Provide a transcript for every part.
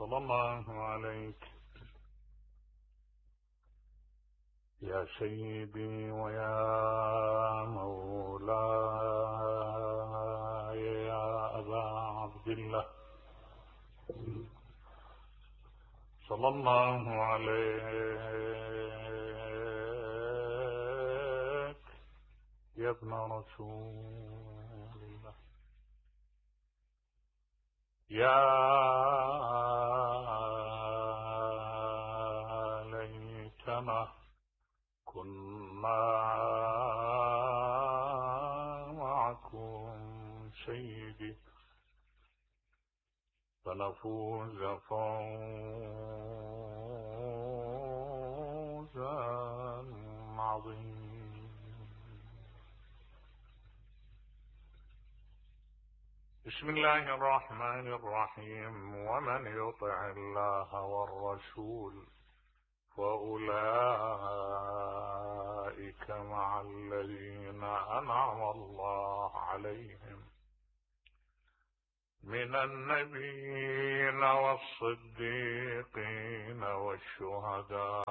صلى الله عليك يا سيدي ويا مولاي يا أبا عبد الله، صلى الله عليك يا ابن رسول الله، يا ليتنا كنا معكم سيدي فنفوز فوزا عظيما. بسم الله الرحمن الرحيم. ومن يطع الله والرسول فأولئك مع الذين أنعم الله عليهم من النبيين والصديقين والشهداء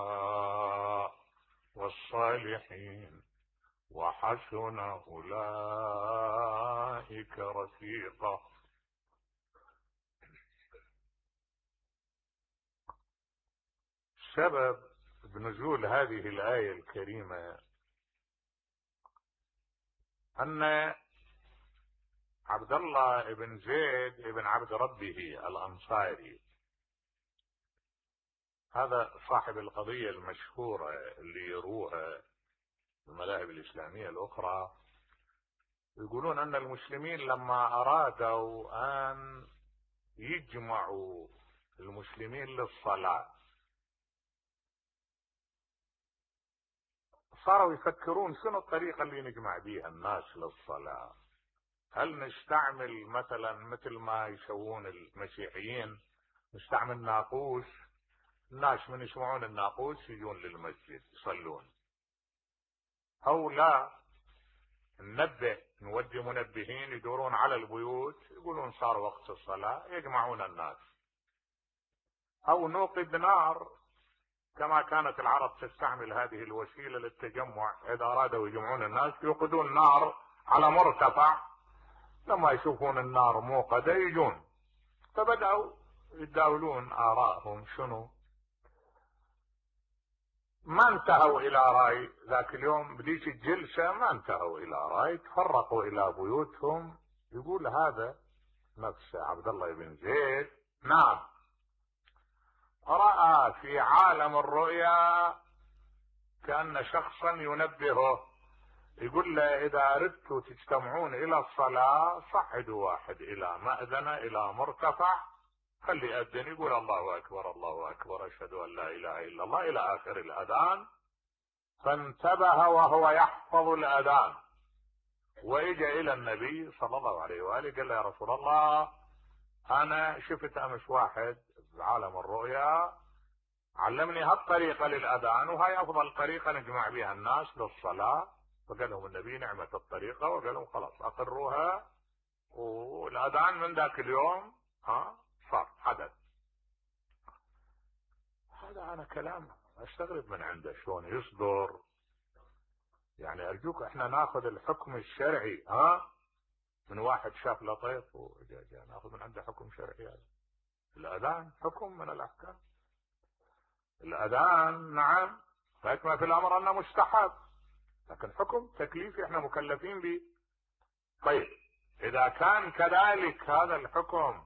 والصالحين وحسن أولئك رفيقا. سبب بنزول هذه الآية الكريمة أن عبد الله بن زيد بن عبد ربه الأنصاري، هذا صاحب القضية المشهورة اللي يروها المذاهب الإسلامية الأخرى، يقولون أن المسلمين لما أرادوا أن يجمعوا المسلمين للصلاة صاروا يفكرون شنو الطريقة اللي نجمع بيها الناس للصلاة. هل نستعمل مثلا مثل ما يسوون المسيحيين، نستعمل ناقوس، الناس من يسمعون الناقوس يجون للمسجد يصلون، أو لا ننبه نودي منبهين يدورون على البيوت يقولون صار وقت الصلاة يجمعون الناس، أو نوقد نار كما كانت العرب تستعمل هذه الوسيلة للتجمع، إذا أرادوا يجمعون الناس يوقدون نار على مرتفع، لما يشوفون النار موقدة يجون. فبدأوا يتداولون آرائهم شنو، ما انتهوا إلى رأي ذاك اليوم بديش الجلسة، ما انتهوا إلى رأي، تفرقوا إلى بيوتهم. يقول هذا نفس عبد الله بن زيد نعم رأى في عالم الرؤيا كأن شخصا ينبهه، يقول له إذا أردتوا تجتمعون إلى الصلاة صعدوا واحد إلى مأذنة إلى مرتفع، خلي يأذن يقول الله أكبر الله أكبر أشهد أن لا إله إلا الله إلى آخر الأذان. فانتبه وهو يحفظ الأذان وإجا إلى النبي صلى الله عليه وآله قال له يا رسول الله أنا شفت أمس واحد بعالم الرؤيا علمني هالطريقة للأذان وهي أفضل طريقة نجمع بها الناس للصلاة. فقال لهم النبي نعمة الطريقة، وقال لهم خلاص أقروها، والأذان من ذاك اليوم صار حدث. هذا أنا كلام أستغرب من عنده شلون يصدر. يعني أرجوك إحنا ناخذ الحكم الشرعي من واحد شاف لطيف وجا ناخذ من عنده حكم شرعي. هذا الأذان حكم من الأحكام، الأذان نعم فما في الأمر أنه مستحب، لكن حكم تكليفي احنا مكلفين به. طيب إذا كان كذلك هذا الحكم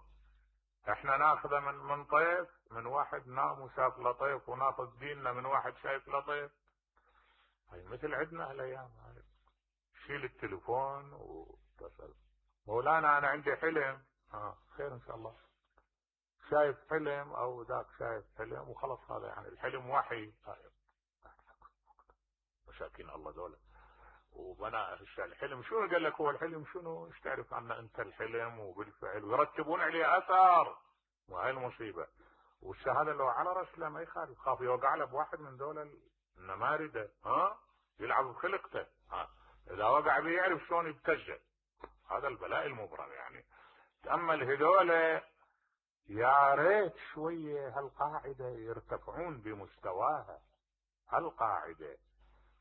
احنا ناخذه من طيف، من واحد نام وشاف لطيف، وناخذ ديننا من واحد شايف لطيف. هاي مثل عندنا هالايام، شيل التليفون واتصل مولانا انا عندي حلم، خير ان شاء الله، شايف حلم او ذاك شايف حلم وخلص، هذا يعني الحلم وحي. مساكين الله دولة وبناء الحلم شنو قال لك هو الحلم شنو، ايش تعرف عنه انت الحلم وبالفعل، ويرتبون عليه اثار، وهي المصيبة. والشهادة لو على رسله ما يخالف، خاف يوقع له بواحد من دول النماردة يلعب بخلقته، اذا وقع به يعرف شلون يبتجه. هذا البلاء المبرم. يعني تأمل هذول يا ريت شوية هالقاعدة يرتفعون بمستواها، هالقاعدة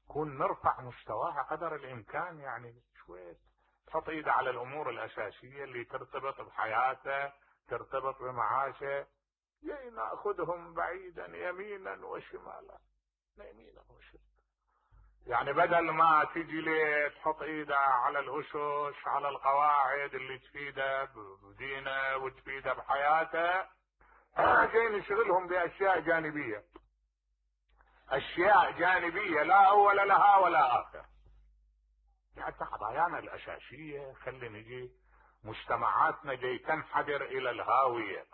كون نرفع مستواها قدر الامكان، يعني شوية تحط ايده على الامور الاساسية اللي ترتبط بحياته، ترتبط بمعاشه، يعني ناخذهم بعيدا يمينا وشمالا، يمينا وشمالا. يعني بدل ما تجي لي تحط ايده على الاسس، على القواعد اللي تفيده بدينه وتفيده بحياته، جاي نشغلهم باشياء جانبيه، اشياء جانبيه لا اول لها ولا اخر. حتى قضايانا الاساسيه خلي نجي مجتمعاتنا جاي تنحدر الى الهاويه.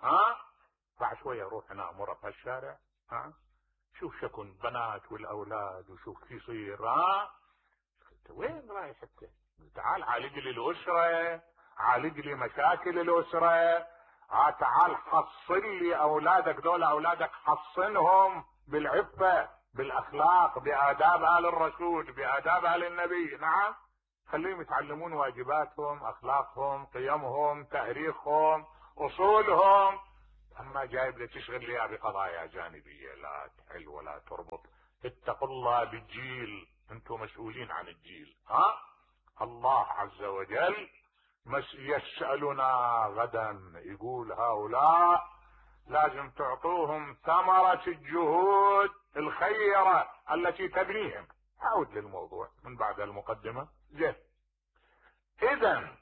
بعد شويه روح هنا امر بهالشارع، شوف شكون بنات والاولاد وشوف كيف يصير. انت وين رايح انت؟ تعال عالج لي الاسره، عالج لي مشاكل الاسره، تعال حصن لي اولادك، دول اولادك حصنهم بالعفه، بالاخلاق، باداب ال الرسول، باداب ال النبي. نعم، خليهم يتعلمون واجباتهم، اخلاقهم، قيمهم، تاريخهم، اصولهم. اما جايب لي تشغل لي بقضايا جانبيه لا تحل ولا تربط. اتقوا الله بالجيل، انتم مسؤولين عن الجيل. الله عز وجل يسألنا غدا، يقول هؤلاء لازم تعطوهم ثمرة الجهود الخيرة التي تبنيهم. اعود للموضوع من بعد المقدمة. زين، اذا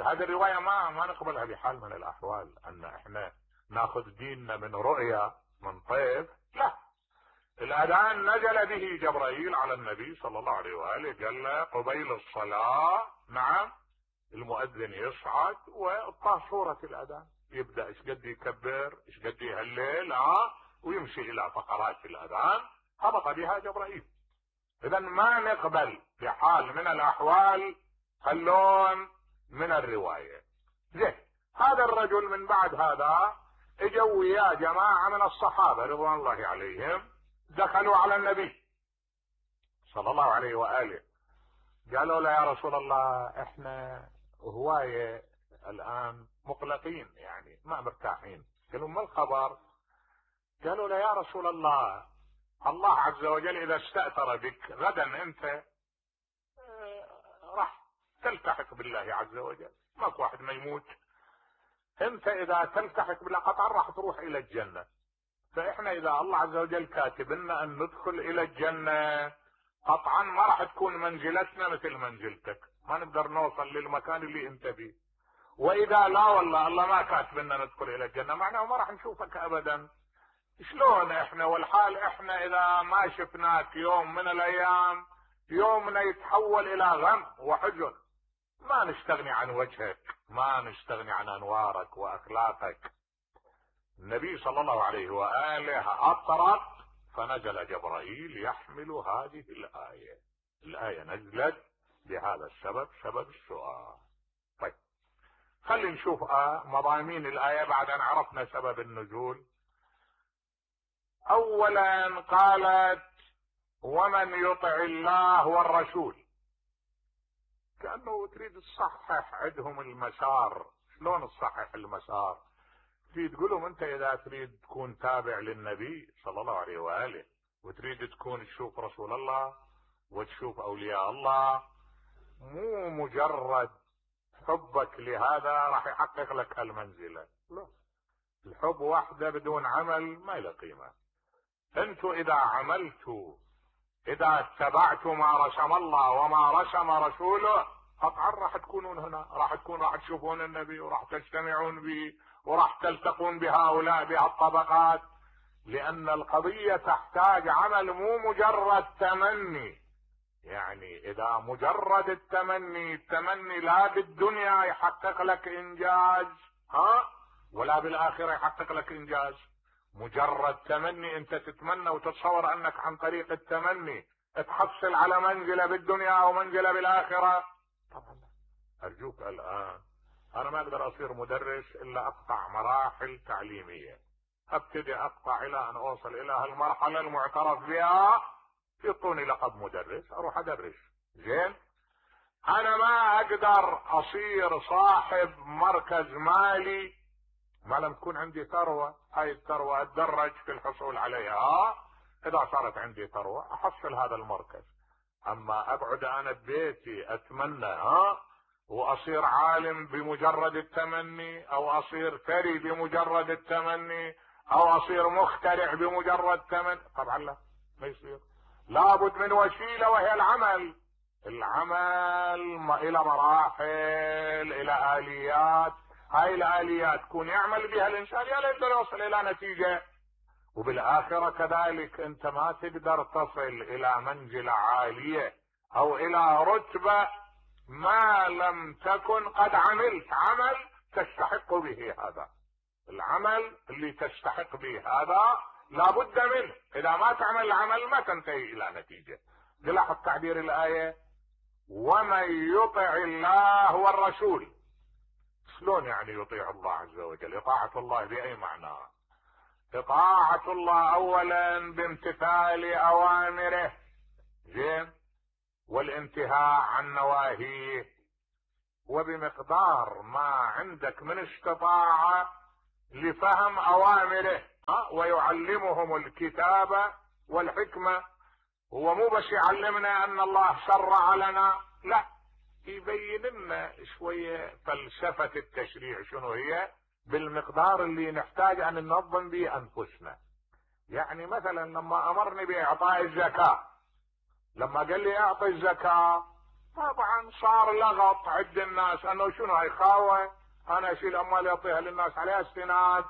هذه الرواية ما نقبلها بحال من الاحوال، ان احنا ناخذ ديننا من رؤيا من طيف. لا، الاذان نزل به جبرائيل على النبي صلى الله عليه واله، قال له قبيل الصلاة نعم المؤذن يصعد وطاه صورة الاذان، يبدأ ايش قد يكبر، ايش قد يهلل، ويمشي الى فقرات الاذان، هبط بها جبرائيل. اذا ما نقبل بحال من الاحوال اللون من الرواية. زين، هذا الرجل من بعد هذا اجوا وياه جماعة من الصحابة رضوان الله عليهم، دخلوا على النبي صلى الله عليه وآله، قالوا له يا رسول الله احنا هواية الان مقلقين، يعني ما مرتاحين. قالوا ما الخبر؟ قالوا له يا رسول الله، الله عز وجل اذا استأثر بك غدا انت راح تلتحق بالله عز وجل، ماكو واحد ما يموت، انت اذا تلتحق بالله قطعا راح تروح الى الجنة، فاحنا اذا الله عز وجل كاتب لنا ان ندخل الى الجنة قطعا ما راح تكون منزلتنا مثل منزلتك، ما نقدر نوصل للمكان اللي انت فيه. واذا لا والله الله ما كاتب لنا ندخل الى الجنة، معناه ما راح نشوفك ابدا. شلون احنا والحال احنا اذا ما شفناك يوم من الايام يومنا يتحول الى غم وحزن، ما نستغني عن وجهك، ما نستغني عن انوارك واخلاقك. النبي صلى الله عليه وآله أطرق، فنزل جبرائيل يحمل هذه الآية. الآية نزلت بهذا السبب، سبب السؤال. طيب خلينا نشوف مضامين الآية بعد أن عرفنا سبب النزول. أولا قالت ومن يطع الله والرسول، كأنه تريد تصحح عندهم المسار. شلون تصحح المسار؟ تريد تقولهم انت اذا تريد تكون تابع للنبي صلى الله عليه وآله وتريد تكون تشوف رسول الله وتشوف اولياء الله، مو مجرد حبك لهذا راح يحقق لك هالمنزلة، لا، الحب وحده بدون عمل ما له قيمة. انتوا اذا عملتوا، اذا اتبعتوا ما رسم الله وما رسم رسوله، قطعا راح تكونون هنا، راح تشوفون النبي وراح تجتمعون به وراح تلتقون بهؤلاء بهالطبقات، لان القضية تحتاج عمل مو مجرد تمني. يعني اذا مجرد التمني لا بالدنيا يحقق لك انجاز ولا بالاخرة يحقق لك انجاز. مجرد تمني، انت تتمنى وتتصور انك عن طريق التمني تحصل على منزلة بالدنيا او منزلة بالاخرة، طبعا. ارجوك الان انا ما اقدر اصير مدرس الا اقطع مراحل تعليمية، ابتدي اقطع الى ان اوصل الى هالمرحلة المعترف بها، يعطوني لقب مدرس اروح ادرس. زين، انا ما اقدر اصير صاحب مركز مالي ما لم تكون عندي ثروة. هاي الثروة اتدرج في الحصول عليها. اذا صارت عندي ثروة احصل هذا المركز. اما اقعد انا ببيتي اتمنى واصير عالم بمجرد التمني، او اصير ثري بمجرد التمني، او اصير مخترع بمجرد تمني، طبعا لا، ما يصير. لابد من وسيلة وهي العمل. العمل الى مراحل، الى اليات. هاي الاليات كون يعمل بها الانسان يا ليت يوصل الى نتيجة. وبالاخرة كذلك انت ما تقدر تصل الى منزلة عالية او الى رتبة ما لم تكن قد عملت عمل تستحق به هذا. العمل اللي تستحق به هذا لابد منه. اذا ما تعمل العمل ما تنتهي الى نتيجة. تلاحظ تعبير الاية ومن يطع الله والرسول. شلون يعني يطيع الله عز وجل؟ اطاعة الله باي معنى؟ اطاعة الله اولا بامتثال اوامره، زين، والانتهاء عن نواهيه، وبمقدار ما عندك من استطاعة لفهم اوامره. ويعلمهم الكتاب والحكمة. هو مو بس يعلمنا ان الله شرع لنا، لا، يبين لنا شوية فلسفة التشريع شنو هي بالمقدار اللي نحتاج ان ننظم به انفسنا. يعني مثلا لما امرني باعطاء الزكاة، لما قال لي اعطي الزكاة، طبعا صار لغط عند الناس انه شنو هاي خاوة، انا اشيل اموالي اعطيها للناس عليها استناد.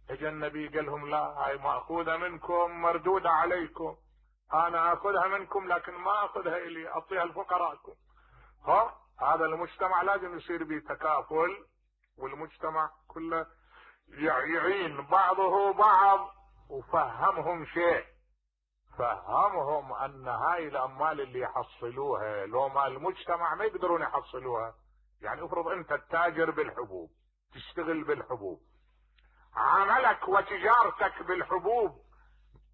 اجى النبي قال لهم لا، هاي ماخوذة منكم مردودة عليكم. انا اخذها منكم لكن ما اخذها الي، اعطيها لفقراءكم. هذا المجتمع لازم يصير به تكافل، والمجتمع كله يعين بعضه بعض. وفهمهم شيء، فهمهم ان هاي الاموال اللي يحصلوها لو ما المجتمع ما يقدرون يحصلوها. يعني افرض انت التاجر بالحبوب، تشتغل بالحبوب، عملك وتجارتك بالحبوب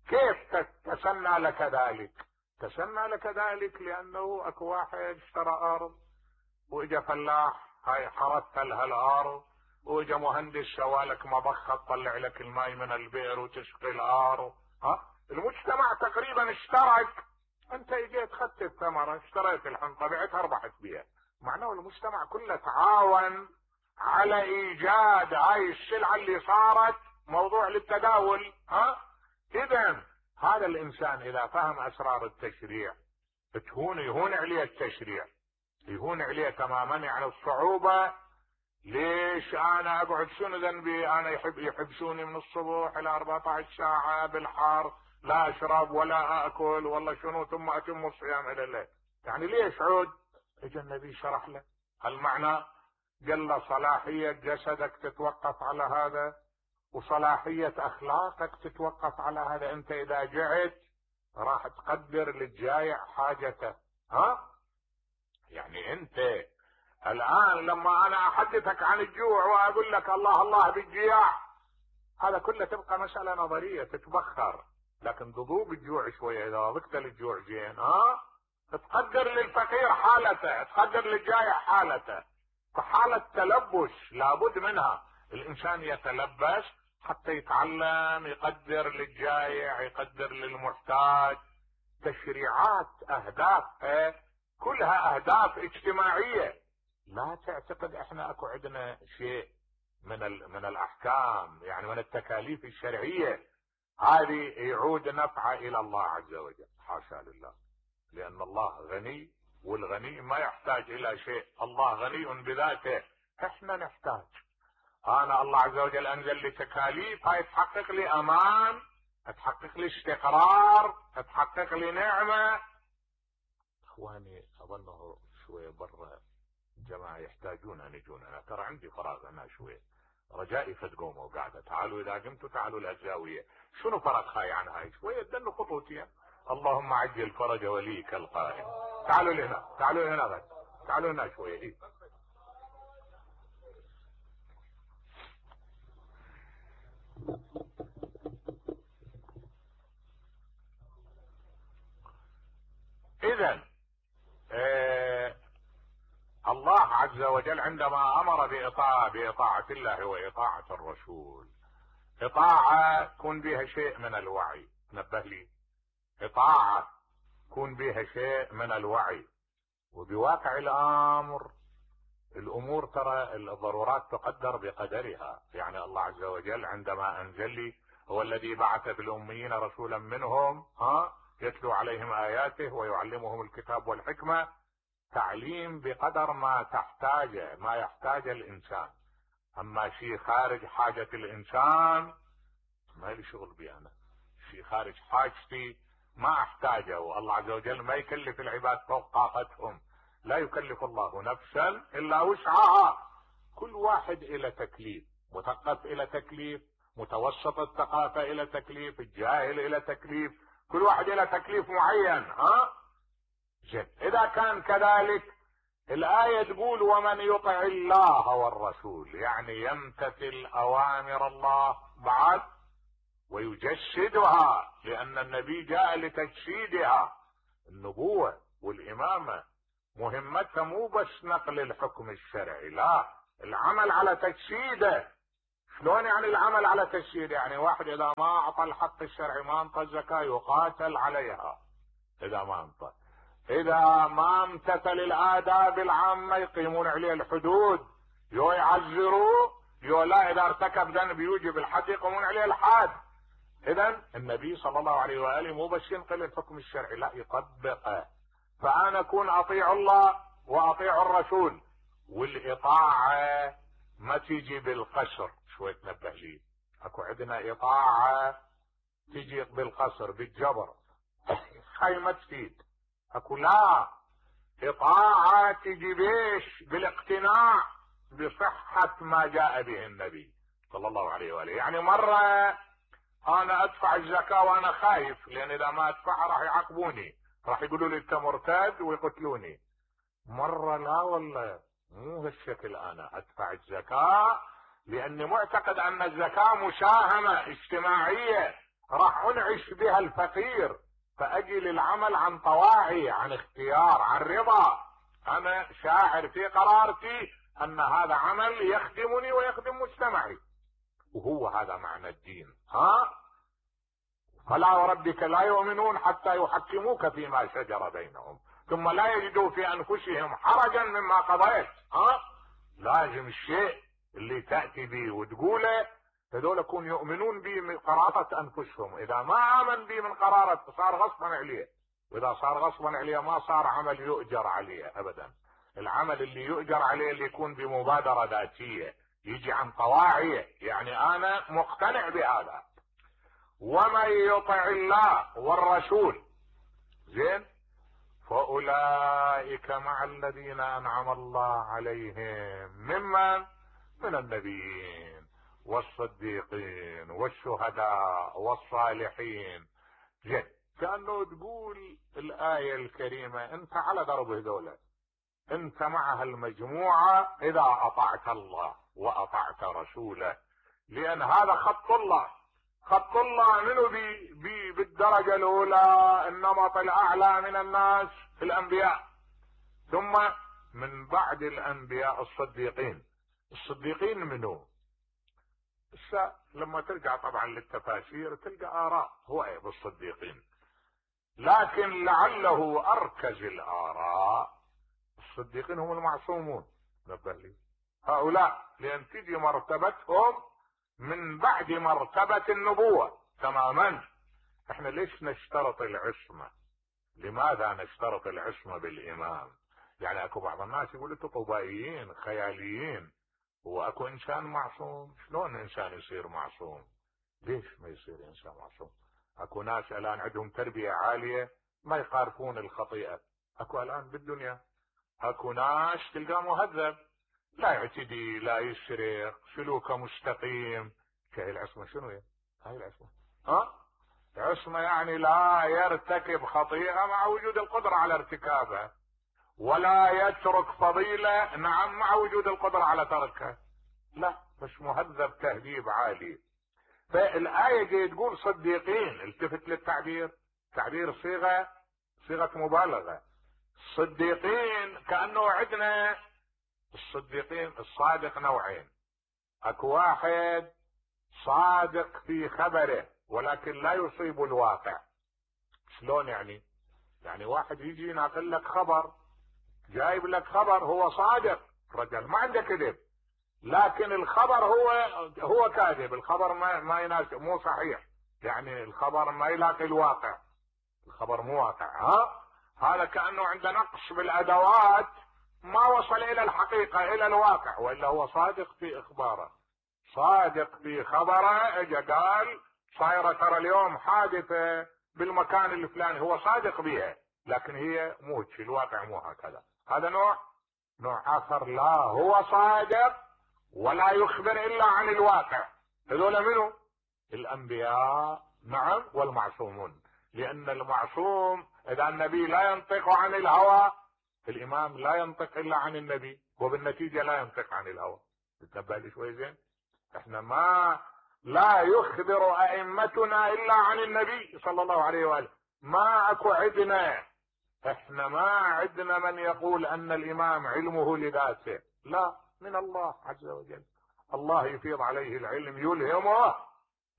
كيف تسنى لك ذلك؟ تسنى لك ذلك لانه اكو واحد اشترى ارض، واجا فلاح هاي حرثت لها الارض، واجا مهندس سوالك مبخة تطلع لك الماء من البئر وتسقي الارض. المجتمع تقريبا اشترك. انت اجيت خدت الثمرة، اشتريت الحنطة، بعتها ربحت بها. معناه المجتمع كله تعاون على ايجاد هاي السلعة اللي صارت موضوع للتداول. اذا هذا الانسان اذا فهم اسرار التشريع يهون عليه التشريع، يهون عليه تماما. يعني الصعوبة ليش انا اقعد، شنو ذنبي انا يحبسوني من الصبح الى 14 ساعة بالحار، لا اشرب ولا اكل، والله شنو، ثم اتم الصيام الى الليل. يعني ليش عود؟ اجى النبي شرح له المعنى، قال له صلاحية جسدك تتوقف على هذا، وصلاحية اخلاقك تتوقف على هذا. انت اذا جعت راح تقدر للجايع حاجته. يعني انت الان لما انا احدثك عن الجوع واقول لك الله الله بالجياع، هذا كله تبقى مسألة نظرية تتبخر. لكن تذوق الجوع شوية، اذا ذقت للجوع زين تقدر للفقير حالته، تقدر للجائع حالته. فحالة تلبس لابد منها. الانسان يتلبس حتى يتعلم يقدر للجائع، يقدر للمحتاج. تشريعات اهدافها كلها اهداف اجتماعية. لا تعتقد احنا اكو عندنا شيء من الاحكام، يعني من التكاليف الشرعية هذه يعود نفعها الى الله عز وجل. حاشا لله، لان الله غني، والغني ما يحتاج الى شيء. الله غني بذاته، احنا نحتاج. انا الله عز وجل انزل لي تكاليف، هاي تحقق لي امان، تحقق لي استقرار، تحقق لي نعمة. اخواني اظنه شوية برا جماعة يحتاجون ان يجون. انا ترى عندي فراغ انا شوية، رجائي فتقوموا وقاعدة. تعالوا اذا قمتوا تعالوا للزاوية. شنو فرق هاي عن هاي؟ شوية دنوا خطوتين. اللهم عجل فرج وليك القائم. تعالوا لهنا، تعالوا لهنا بس، تعالوا هنا شوية. إيه؟ اذا عز وجل عندما امر بإطاعة الله وإطاعة الرسول، إطاعة يكون بها شيء من الوعي، نبه لي، إطاعة يكون بها شيء من الوعي. وبواقع الامر الامور ترى الضرورات تقدر بقدرها. يعني الله عز وجل عندما انزل لي هو الذي بعث في الاميين رسولا منهم يتلو عليهم اياته ويعلمهم الكتاب والحكمة، تعليم بقدر ما يحتاج الانسان. اما شيء خارج حاجة الانسان ما لي شغل بي، انا شيء خارج حاجتي ما احتاجه. والله عز وجل ما يكلف العباد فوق طاقتهم، لا يكلف الله نفسا الا وسعها. كل واحد الى تكليف، مثقف الى تكليف، متوسط الثقافة الى تكليف، الجاهل الى تكليف، كل واحد الى تكليف معين. زين، اذا كان كذلك الآية تقول ومن يطع الله والرسول، يعني يمتثل اوامر الله بعد ويجسدها، لان النبي جاء لتجسيدها. النبوة والامامة مهمتها مو بس نقل الحكم الشرعي، لا، العمل على تجسيده. شلون يعني العمل على تجسيده؟ يعني واحد اذا ما اعطى الحق الشرعي، ما انطى الزكاة، يقاتل عليها. اذا ما انطى، اذا ما امتثل الاداب العامة يقيمون عليه الحدود، يو يعزروه، يو لا، اذا ارتكب ذنب يوجب الحد يقومون عليه الحد. اذا النبي صلى الله عليه واله مو بس ينقل الحكم الشرعي، لا، يطبقه. فانا اكون اطيع الله واطيع الرسول. والاطاعة ما تيجي بالقصر، شوي تنبه لي، اكو عندنا اطاعة تيجي بالقصر بالجبر، هاي ما تفيد. اكو لا، اطاعة تيجي بيش بالاقتناع بصحة ما جاء به النبي صلى الله عليه واله. يعني مرة انا ادفع الزكاة وانا خايف، لان اذا ما ادفعها راح يعاقبوني، راح يقولوا لي انت مرتد ويقتلوني. مرة لا والله، مو هالشكل، انا ادفع الزكاة لاني معتقد ان الزكاة مساهمة اجتماعية راح انعش بها الفقير، فاجي للعمل عن طواعي، عن اختيار، عن رضا. انا شاعر في قرارتي ان هذا عمل يخدمني ويخدم مجتمعي، وهو هذا معنى الدين. فلا وربك لا يؤمنون حتى يحكموك فيما شجر بينهم ثم لا يجدوا في انفسهم حرجا مما قضيت. لازم الشيء اللي تأتي به وتقوله هذول يكون يؤمنون به من قرارة انفسهم. اذا ما امن به من قرارة صار غصبا عليه، واذا صار غصبا عليه ما صار عمل يؤجر عليه ابدا. العمل اللي يؤجر عليه اللي يكون بمبادرة ذاتية، يجي عن طواعية، يعني انا مقتنع بهذا. ومن يطع الله والرسول، زين، فاولئك مع الذين انعم الله عليهم من النبيين والصديقين والشهداء والصالحين. زين، كأنه تقول الآية الكريمة انت على درب هذولا، انت مع هالمجموعة اذا اطعت الله واطعت رسوله، لان هذا خط الله. خط الله منه بالدرجة الاولى النمط الاعلى من الناس الانبياء، ثم من بعد الانبياء الصديقين. الصديقين منه لما ترجع طبعا للتفاسير تلقى آراء هو بالصديقين، لكن لعله أركز الآراء الصديقين هم المعصومون. نبه لي هؤلاء، لأن تجي مرتبتهم من بعد مرتبة النبوة تماما. احنا ليش نشترط العصمة؟ لماذا نشترط العصمة بالإمام؟ يعني اكو بعض الناس يقولوا طبائيين خياليين، هو اكو انسان معصوم؟ شلون انسان يصير معصوم؟ ليش ما يصير انسان معصوم؟ اكو ناس الان عندهم تربية عالية ما يقارفون الخطيئة. اكو الان بالدنيا اكو ناس تلقاه مهذب، لا يعتدي، لا يسرق، سلوكه مستقيم. هاي العصمة شنو هي؟ هاي العصمة عصمة يعني لا يرتكب خطيئة مع وجود القدرة على ارتكابها، ولا يترك فضيلة نعم مع وجود القدرة على تركها. لا، مش مهذب تهذيب عالي. فالآية جاي تقول صديقين، التفت للتعبير، تعبير صيغة مبالغة. صديقين كأنه عندنا الصديقين الصادق نوعين. اكو واحد صادق في خبره ولكن لا يصيب الواقع. شلون يعني؟ يعني واحد يجي ينقل لك خبر، جايب لك خبر، هو صادق رجل ما عنده كذب، لكن الخبر هو كاذب، الخبر ما يناسب، مو صحيح، يعني الخبر ما يلاقي الواقع، الخبر مو واقع. هذا كأنه عنده نقص بالادوات، ما وصل الى الحقيقة الى الواقع، والا هو صادق في اخباره، صادق في خبره. اجا قال صايرة ترى اليوم حادثة بالمكان الفلاني، هو صادق بها لكن هي مو الواقع مو هكذا. هذا نوع اخر، لا هو صادق ولا يخبر الا عن الواقع. هذول منو؟ الانبياء، نعم، والمعصومون. لان المعصوم اذا النبي لا ينطق عن الهوى، الامام لا ينطق الا عن النبي، وبالنتيجة لا ينطق عن الهوى. تتنبه لي شوي زين؟ احنا لا يخبر ائمتنا الا عن النبي صلى الله عليه واله، ما اكو عندنا، احنا ما عندنا من يقول ان الامام علمه لذاته، لا، من الله عز وجل، الله يفيض عليه العلم يلهمه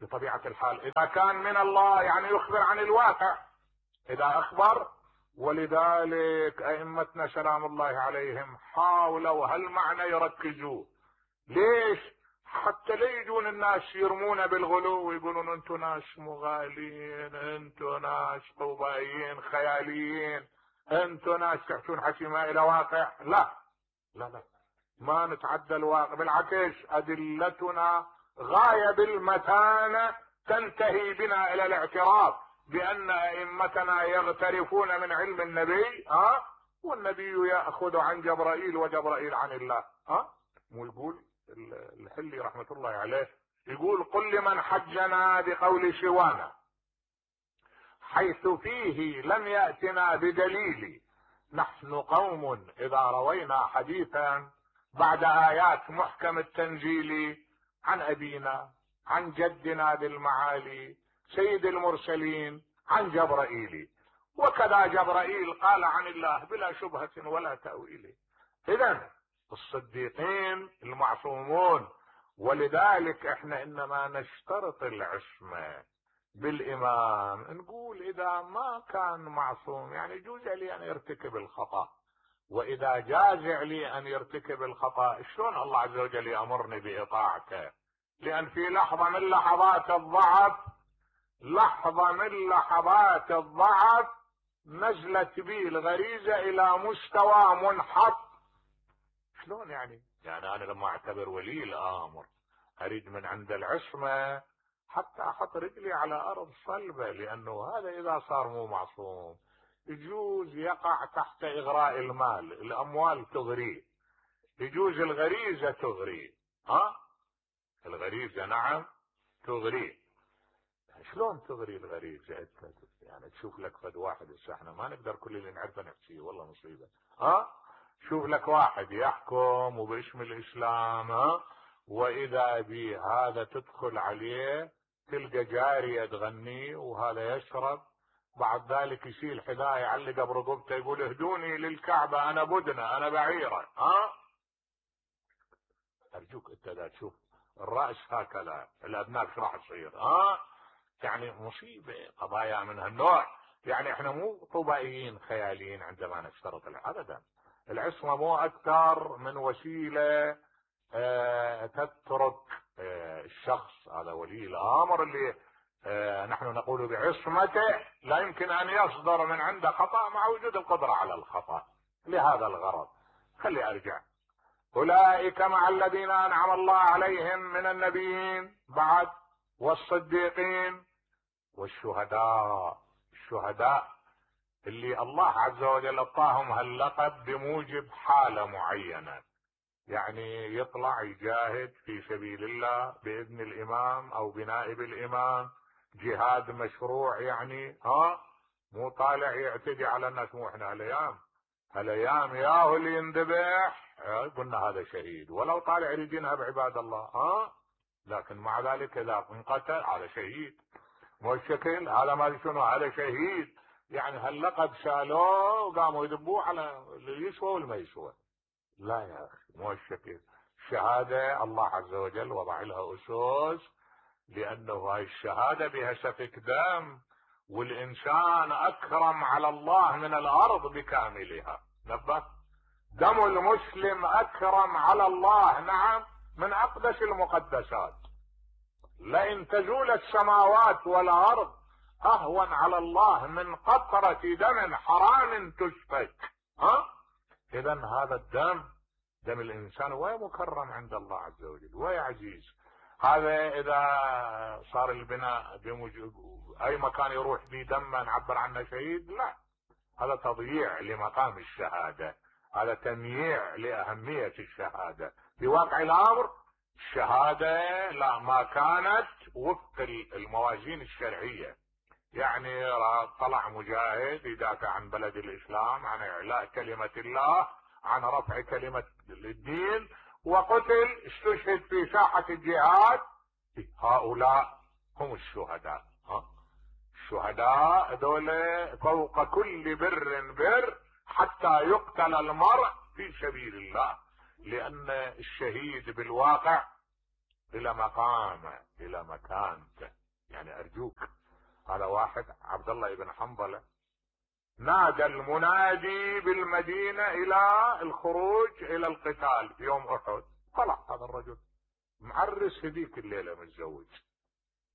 بطبيعة الحال. اذا كان من الله يعني يخبر عن الواقع اذا اخبر. ولذلك ائمتنا سلام الله عليهم حاولوا هالمعنى يركزوه. ليش؟ حتى لا يجون الناس يرمون بالغلو ويقولون انتو ناس مغالين، انتو ناس طوبائيين خياليين، انتو ناس تحكون حكي ما الى واقع. لا لا لا، ما نتعدى الواقع، بالعكس ادلتنا غاية بالمتانة تنتهي بنا الى الاعتراف بان ائمتنا يغترفون من علم النبي، والنبي ياخذ عن جبرائيل وجبرائيل عن الله. مو يقول الحلي رحمة الله عليه، يقول قل لمن حجنا بقول شوانا حيث فيه لم يأتنا بدليل، نحن قوم إذا روينا حديثا بعد آيات محكم التنزيل عن أبينا عن جدنا بالمعالي سيد المرسلين عن جبرائيل، وكذا جبرائيل قال عن الله بلا شبهة ولا تأويل. إذن الصديقين المعصومون. ولذلك احنا انما نشترط العصمة بالامام، نقول اذا ما كان معصوم يعني يجوز لي ان يرتكب الخطأ، واذا جاز لي ان يرتكب الخطأ شلون الله عز وجل يأمرني بإطاعته؟ لان في لحظة من لحظات الضعف نزلت بي الغريزة الى مستوى منحط. شلون يعني انا لما اعتبر ولي الامر اريد من عند العصمة حتى احط رجلي على ارض صلبة، لانه هذا اذا صار مو معصوم يجوز يقع تحت اغراء المال، الاموال تغريه، يجوز الغريزة تغريه، الغريزة نعم تغريه. شلون تغري الغريزة؟ يعني تشوف لك فد واحد، احنا ما نقدر كل اللي نعرفه نحكيه، والله مصيبة. شوف لك واحد يحكم وباسم الاسلام، واذا به هذا تدخل عليه تلقى جارية تغني وهذا يشرب، بعد ذلك يشيل حذاء يعلقه برقبته يقول اهدوني للكعبة انا بدنة انا بعيرة. ارجوك انت لا تشوف الرأس هكذا الابناء ايش راح تصير؟ يعني مصيبة قضايا من هالنوع. يعني احنا مو طوبائيين خياليين عندما نشترط ابدا. العصمة مو اكثر من وسيلة تترك الشخص هذا ولي الامر اللي نحن نقول بعصمته لا يمكن ان يصدر من عنده خطأ مع وجود القدرة على الخطأ. لهذا الغرض خلي ارجع. اولئك مع الذين انعم الله عليهم من النبيين بعد والصديقين والشهداء. الشهداء اللي الله عز وجل اعطاهم هاللقب بموجب حالة معينة، يعني يطلع يجاهد في سبيل الله بإذن الإمام أو بنائب الإمام، جهاد مشروع، يعني مو طالع يعتدي على الناس. مو احنا هالايام ياهو اللي ينذبح قلنا هذا شهيد، ولو طالع يريد ينهب عباد الله، لكن مع ذلك اذا انقتل هذا شهيد. مو الشكل هذا ما شنو هذا شهيد. يعني هاللقب شالوه وقاموا يذبوه على اللي يسوى والما يسوى. لا يا اخي مو الشكل. الشهادة الله عز وجل وضع لها اسس، لانه هاي الشهادة بها سفك دم، والانسان اكرم على الله من الارض بكاملها. نبه، دم المسلم اكرم على الله، نعم، من اقدس المقدسات. لئن تزول السماوات والارض اهون على الله من قطرة دم حرام تسفك. اذا هذا الدم، دم الانسان ومكرم عند الله عز وجل ويعزيز. هذا اذا صار البناء اي مكان يروح به دم نعبر عنه شهيد، لا، هذا تضييع لمقام الشهادة، هذا تمييع لأهمية الشهادة. في واقع الامر الشهادة لا، ما كانت وفق الموازين الشرعية. يعني طلع مجاهد يدافع عن بلد الاسلام، عن اعلاء كلمة الله، عن رفع كلمة الدين، وقتل، استشهد في ساحة الجهاد، هؤلاء هم الشهداء. الشهداء دول فوق كل بر بر، حتى يقتل المرء في سبيل الله. لان الشهيد بالواقع الى مقامه، الى مكانته. يعني ارجوك، هذا واحد عبد الله بن حنظلة نادى المنادي بالمدينة الى الخروج الى القتال في يوم احد. طلع هذا الرجل معرس هذيك الليلة متزوج،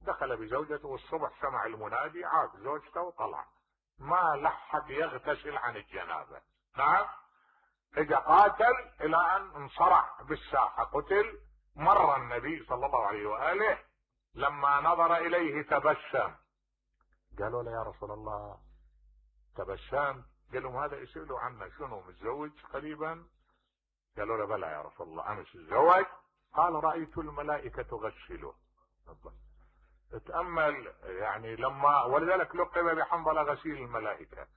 دخل بزوجته، والصبح سمع المنادي عاد زوجته وطلع، ما لحق يغتسل عن الجنابة. نعم، اجا قاتل الى ان انصرع بالساحة، قتل. مر النبي صلى الله عليه وآله، لما نظر اليه تبسم. قالوا له يا رسول الله تبسم؟ قال لهم هذا يسألوا عنه شنو، متزوج قريبا؟ قالوا له بلى يا رسول الله امس تزوج. قال رأيت الملائكة تغسله. اتأمل يعني، لما ولذلك لقب بحنظلة غسيل الملائكة،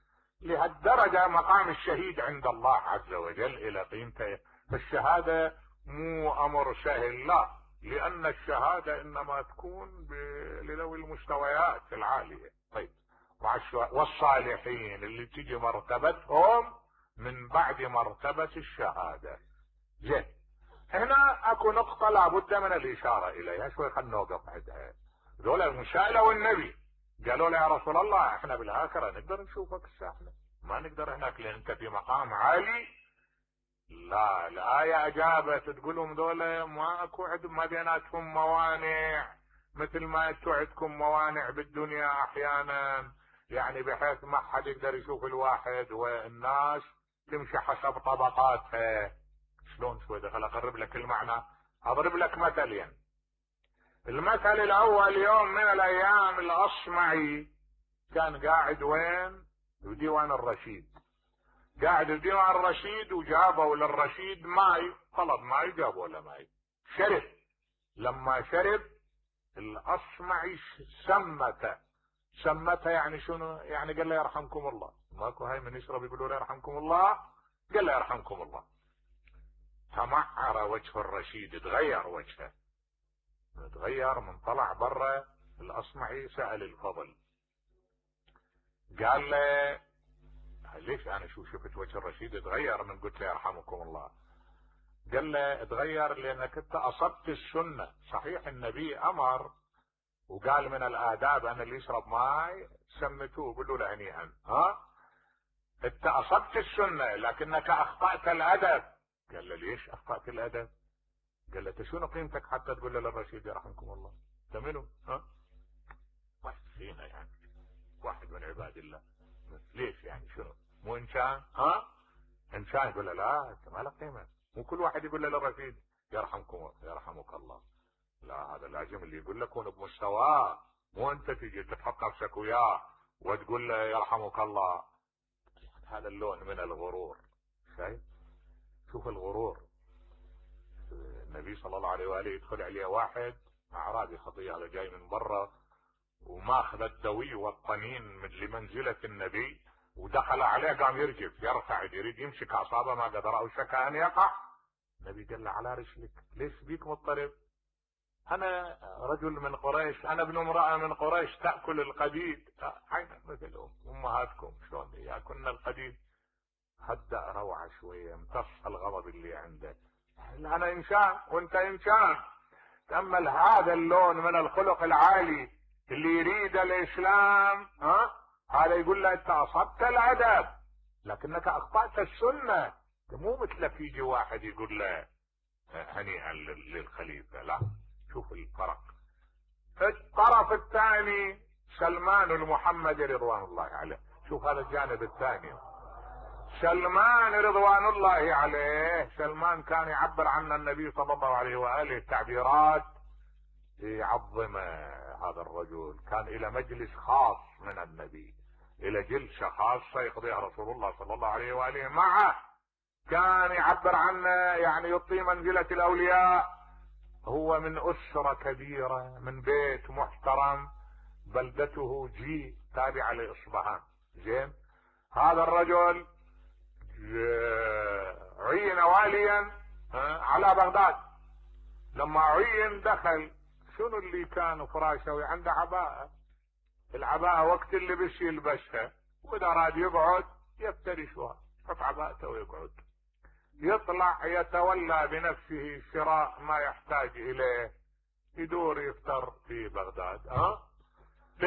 لهالدرجة مقام الشهيد عند الله عز وجل الى قيمته. فالشهادة مو امر سهل، لا، لان الشهادة انما تكون لذوي المستويات العالية. طيب، مع والصالحين اللي تجي مرتبتهم من بعد مرتبة الشهادة. زين، هنا اكو نقطة لابد من الاشارة اليها شوي، خلنا نوقف عندها. ذولا المسائلة والنبي قالوا له يا رسول الله احنا بالاخرة نقدر نشوفك الساحة، ما نقدر هناك لان انت في مقام عالي. لا، الآية اجابت تقول لهم ذولا ما اكو ما بيناتهم موانع، مثل ما انتو عندكم موانع بالدنيا احيانا، يعني بحيث ما حد يقدر يشوف الواحد، والناس تمشي حسب طبقاتها. شلون شوي دخل اقرب لك المعنى، اضرب لك مثلين. المثل الاول، يوم من الايام الاصمعي كان قاعد وين؟ بديوان الرشيد. قاعد بديوان الرشيد، وجابوا للرشيد ماي، طلب ماي، جابوا له ماي، شرب. لما شرب الاصمعي سمته يعني شنو؟ يعني قال له يرحمكم الله. ماكو هاي من يشرب يقولوا له يرحمكم الله؟ قال له يرحمكم الله. تمعر وجه الرشيد، تغير وجهه، تغير. من طلع برا الاصمعي سأل الفضل، قال له ليش انا شفت وجه الرشيد تغير من قلت له يرحمكم الله؟ قال له تغير لانك انت اصبت السنة. صحيح النبي امر وقال من الاداب ان اللي يشرب ماي سمتوه، قولوا له هنيئا. انت اصبت السنة لكنك اخطأت الادب. قال له ليش اخطأت الادب؟ قال له شنو قيمتك حتى تقول له للرشيد يرحمكم الله؟ انت منو؟ واحد فينا يعني، واحد من عباد الله. ليش يعني شنو؟ مو انسان؟ انسان يقول له لا انت ما لك قيمه. مو كل واحد يقول له للرشيد يرحمك الله. لا، هذا لازم اللي يقول لك كون بمستواه، مو انت تجي تحط نفسك وياه وتقول له يرحمك الله. هذا اللون من الغرور. شايف؟ شوف الغرور. النبي صلى الله عليه وآله يدخل عليه واحد اعرابي خطية، هذا جاي من برا وماخذ الدوي والطنين لمنزلة النبي، ودخل عليه قام يرجف يرفع يريد يمسك اعصابه، ما قدر، او شك ان يقع. النبي قال له على رسلك، ليش بيك مضطرب؟ انا رجل من قريش، انا ابن امرأة من قريش تأكل القديد. عين مثل امهاتكم شلون ياكلن القديد. هدأ روعة شوية، امتص الغضب اللي عندك. انا انسان وانت انسان. تأمل هذا اللون من الخلق العالي اللي يريد الاسلام، هذا يقول له انت اصبت الادب لكنك اخطأت السنة. مو مثلك يجي واحد يقول له هنيئا للخليفة، لا. شوف الفرق. الطرف الثاني سلمان المحمدي رضوان الله عليه. شوف هذا الجانب الثاني. سلمان رضوان الله عليه، سلمان كان يعبر عن النبي صلى الله عليه وآله تعبيرات يعظم هذا الرجل. كان الى مجلس خاص من النبي، الى جلسة خاصة يقضيها رسول الله صلى الله عليه وآله معه. كان يعبر عنه يعني يعطي منزلة الاولياء. هو من اسرة كبيرة، من بيت محترم، بلدته جي تابعة لاصبهان. زين، هذا الرجل عين واليا على بغداد. لما عين دخل، شنو اللي كان فراشه؟ عنده عباءة. العباءة وقت اللي بش يلبسها، واذا راد يقعد يفترشها، يحط عباءته ويقعد. يطلع يتولى بنفسه شراء ما يحتاج اليه، يدور يفطر في بغداد.